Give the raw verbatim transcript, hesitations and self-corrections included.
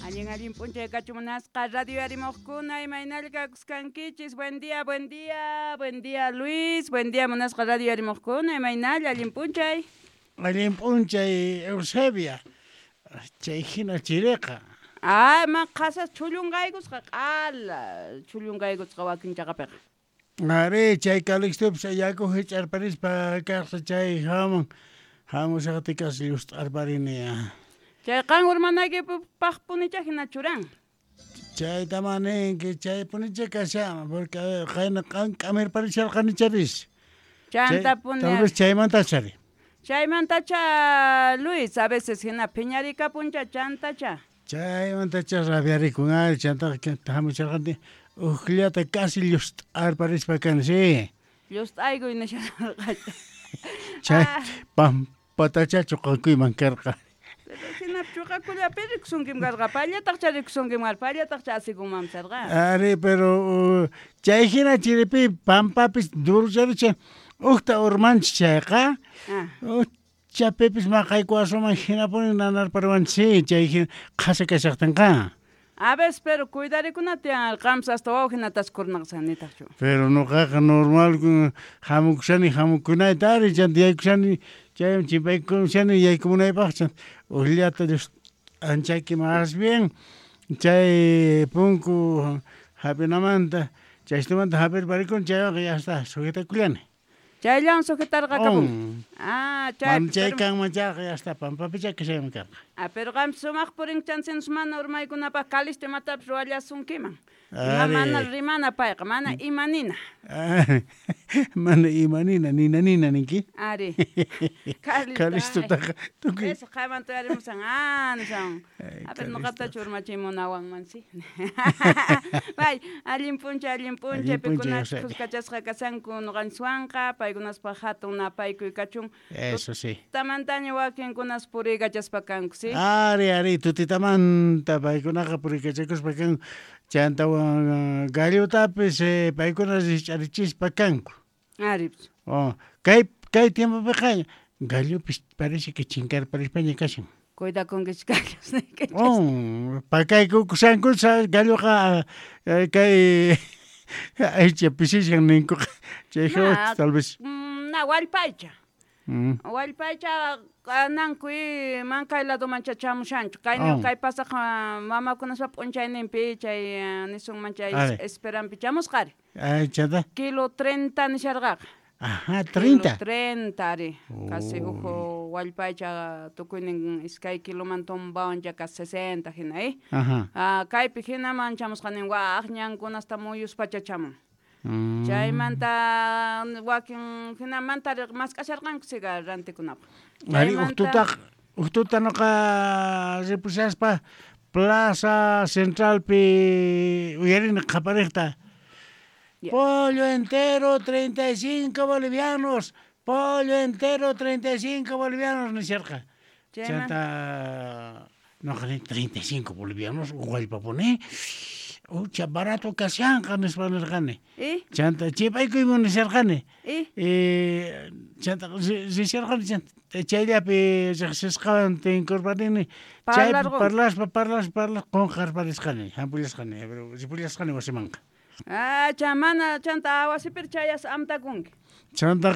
Allin allin p'unchay kachun munasqa radio yarimuqkuna imaynalla kakuskankichis. Buen día, buen día, buen día Luis, buen día munasqa radio yarimuqkuna imaynalla allin p'unchay. Allin p'unchay Eusebia, chay hina chiriqa. Ah, ma qhasas chhullunqaykusqa q'ala chhullunqaykusqa wakin chaqapiqa. Ari, chay Calixtopis yaku hich'arparispa kaqsa chay hamun hamushaqtikas llust'arparini. Chay qan urmanaykipaqpunicha hina churan. Chayta maninki, chaypunicha kashan, porque qayna qan k'amirparisharqanicharis. Chantapuni. Tal vez chaymantachari. Chaymantacha Luis, a veces hina phiñarikapuncha chantacha. Chaymantacha rabiarikun ari, chantaqa hamusharqani ujllata casi llust'arparispa kani, sí. Llust'aykuy nisharqacha. Chay pampatacha chuqakuyman karqa. Pero hina chuqakullapi rikusunkim karqa, pallataqcha rikusunkim karqa, pallataqcha asikunman sarqa. Ari, pero chay hina chiripi pampapis durucharicha ujta urmanchis chayqa. Chapipis maqaykuwasuman hinapuni nanarparwanchis, chay hina qhasa kashaqtinqa. A veces, pero cuidarikuna tiyan qampas hasta waw hinatas kurnaqsan nitaqchu. Pero nuqaqa normal hamukushani hamukunayta ari chanta yaykushani chayman chimpaykushani yaykumunaypaq ujllata anchayki más bien chay punku hap'inamanta chaystumanta hap'irparikuni chaywanqa ya está sujetakullani. Chayllawan sujetarqakapun. Ah, chay. Mana chay kanman chayqa ya está pampapicha kashayman karqa. Ah, pero qampas sumaq purinki mana urmaykunapaq Calixto imatapis ruwallasunkiman. Mana rimana payqa, mana imanina. Mana imanina, nina nina ninki. Ari. Calixtotaqa tukuy. Eso qaymanta uyarimusan, ah, nisan. A ver, nuqatachu urmachimunawanman, sí. Bay, allin p'unchay, allin p'unchay, pikunachus khuskachasqa kashanku nuqanchiswanqa, paykunaspaq hatun napaykuy kachun. Eso sí. Tutamantaña wakinkunas puriykachaspa kanku, sí. Ari, ari, tutitamanta paykunaqa puriykachakuspa kanku. Chantawan gallotapis paykuna rich'arichispa kanku. Ari. Oh, kay kay tiempopiqa gallopis parece que chinkarparispaña kashan. Cuidakunkichis gallos. Oh, pakaykukushanku galloqa kay aycha pisishan ninkuqa chay tal vez. Na wallpaycha. Wallpaycha nankuy mankay ladoman chamushanchu. Kayni kay pasaq mamakunaspa p'unchayninpi chay nisunman chay esperanpi chamusqari. Ay, chanta. Kilo treinta nisharqaqa. Ajá, treinta. Kilo treinta ari. Casi uhu wallpaycha tukuynin iskay kiloman tumbawan ya casi sesenta hina, eh. Ajá. Ah, kaypi hinaman chamusqanin waq ñankunasta muyuspacha chamun. Chaymanta wakin hinamanta mask'asharqanku siga rantikunapaq. Ari uqtutaq uqtuta nuqa ripushaspa Plaza Centralpi uyarini qhapariqta. Pollo entero treinta y cinco bolivianos, pollo entero treinta y cinco bolivianos nisharqa. Chanta nuqa nini treinta y cinco bolivianos wallpapuni. Ucha barato kashanqa nispa nirqani. Chanta chipaykuyman nisharqani. Eh chanta risharqani chanta chayllapi riqsisqawan tinkurparini chaypi parlaspa parlaspa parlaspa qunqarparisqani hampullasqani pero ripullasqani wasimanqa. Ah, chamana chanta wasipir chayas amtakunki. Chantaqa